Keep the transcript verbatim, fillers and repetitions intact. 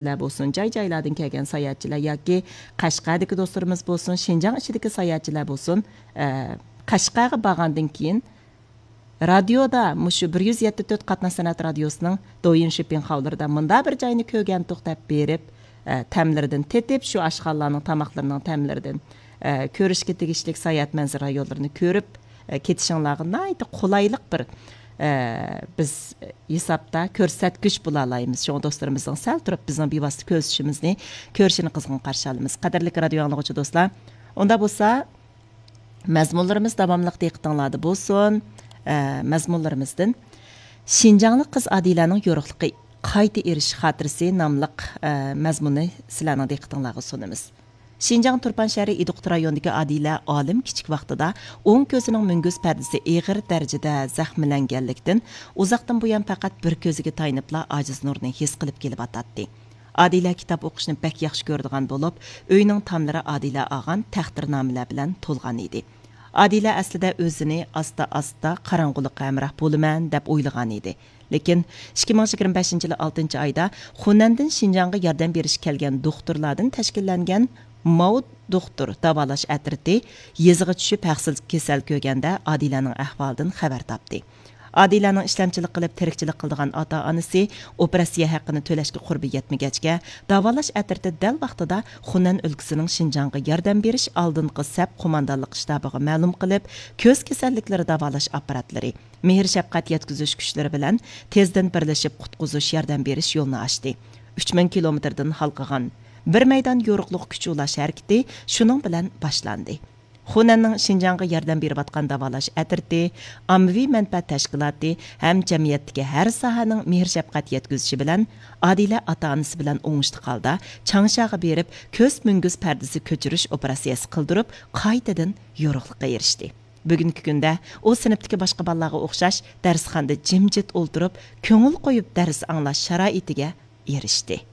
بولسۇن، جاي-جايلاردىن كەلگەن ساياھەتچىلەر ياكى قەشقەردىكى دوستلىرىمىز بولسۇن، شىنجاڭ ئىچىدىكى ساياھەتچىلەر بولسۇن، ئە، قەشقەرگە بارغاندىن كېيىن رادىيودا، مۇشۇ بىر يۈز يەتتە تۆت قاتناش سەنئەت رادىيوسىنىڭ دويىن شىپىڭ خاۋلىرىدا مۇنداق بىر جاينى كۆرگەنتۇق دەپ بېرىپ، ئە، تەملىرىدىن تېتىپ، شۇ ئاشخانىلارنىڭ تاماقلىرىنىڭ تەملىرىدىن، ئە، كۆرۈشكە تېگىشلىك ساياھەت مەنزىرە رايونلىرىنى كۆرۈپ، ئە، كېتىشىڭلارغا ناھايىتى قولايلىق بىر، ئە، بىز ھېسابتا كۆرسەتكۈچ بولالايمىز. شۇڭا دوستلىرىمىزنىڭ سەل تۇرۇپ بىزنىڭ بىۋاسىتە كۆرۈشۈشىمىزنى كۆرۈشىنى قىزغىن قارشى ئالىمىز. قەدىرلىك رادىيو ئاڭلىغۇچى دوستلار، ئۇنداق بولسا، مەزمۇنلىرىمىز داۋاملىق دىققىتىڭلاردا بولسۇن. ئە، مەزمۇنلىرىمىزدىن شىنجاڭلىق قىز ئادىلەنىڭ يورۇقلۇقى قايتا ئېرىشىش خاتىرىسى ناملىق، ئە، مەزمۇننى سىلەرنىڭ دىققىتىڭلارغا سۇنىمىز. شىنجاڭ تۇرپان شەھىرى ئىدىقۇت رايونىدىكى ئادىلە ئالىم كىچىك ۋاقتىدا ئوڭ كۆزىنىڭ مۈڭگۈز پەردىسى ئېغىر دەرىجىدە زەخىملەنگەنلىكتىن، ئۇزاقتىن بۇيان پەقەت بىر كۆزىگە تايىنىپلا ئاجىز نۇرنى ھېس قىلىپ كېلىۋاتاتتى. ئادىلە كىتاب ئوقۇشنى بەك ياخشى كۆرىدىغان بولۇپ، ئۆينىڭ تاملىرى ئادىلە ئالغان تەختىرنامىلەر بىلەن تولغان ئىدى. ئادىلە ئەسلىدە ئۆزىنى ئاستا-ئاستا قاراڭغۇلۇققا ھەمراھ بولىمەن دەپ ئويلىغان ئىدى. لېكىن ئىككى مىڭ يىگىرمە بەشىنچى يىلى ئالتىنچى ئايدا خۇنەندىن شىنجاڭغا ياردەم بېرىشكە كەلگەن دوختۇرلاردىن تەشكىللەنگەن ماۋۇ دوختۇر داۋالاش ئەترىتى يېزىغا چۈشۈپ ھەقسىز كېسەل كۆرگەندە ئادىلەنىڭ ئەھۋالىدىن خەۋەر تاپتى. ئادىلەنىڭ ئىشلەمچىلىك قىلىپ تىرىكچىلىك قىلىدىغان ئاتا-ئانىسى ئوپېراتسىيە ھەققىنى تۆلەشكە قۇربى يەتمىگەچكە، داۋالاش ئەترىتى دەل ۋاقتىدا خۇنەن ئۆلكىسىنىڭ شىنجاڭغا ياردەم بېرىش ئالدىنقى سەپ قوماندانلىق شتابىغا مەلۇم قىلىپ، كۆز كېسەللىكلىرى داۋالاش ئاپپاراتلىرى، مېھىر شەپقەت يەتكۈزۈش كۈچلىرى بىلەن تېزدىن بىرلىشىپ قۇتقۇزۇش ياردەم بېرىش يولىنى ئاچتى. ئۈچ مىڭ كىلومېتىردىن ھالقىغان بىر مەيدان يورۇقلۇق كۈچ ئۇلاش ھەرىكىتى شۇنىڭ بىلەن باشلاندى. خۇنەننىڭ شىنجاڭغا ياردەم بېرىۋاتقان داۋالاش ئەترىتى، ئاممىۋى مەنپەئەت تەشكىلاتى ھەم جەمئىيەتتىكى ھەر ساھەنىڭ مېھىر-شەپقەت يەتكۈزۈشى بىلەن ئادىلە ئاتا-ئانىسى بىلەن ئوڭۇشلۇق ھالدا چاڭشاغا بېرىپ، كۆز مۈڭگۈز پەردىسى كۆچۈرۈش ئوپېراتسىيەسى قىلدۇرۇپ، قايتىدىن يورۇقلۇققا ئېرىشتى. بۈگۈنكى كۈندە ئۇ سىنىپتىكى باشقا بالىلارغا ئوخشاش دەرسخانىدا جىمجىت ئولتۇرۇپ، كۆڭۈل قويۇپ دەرس ئاڭلاش شارائىتىگە ئېرىشتى.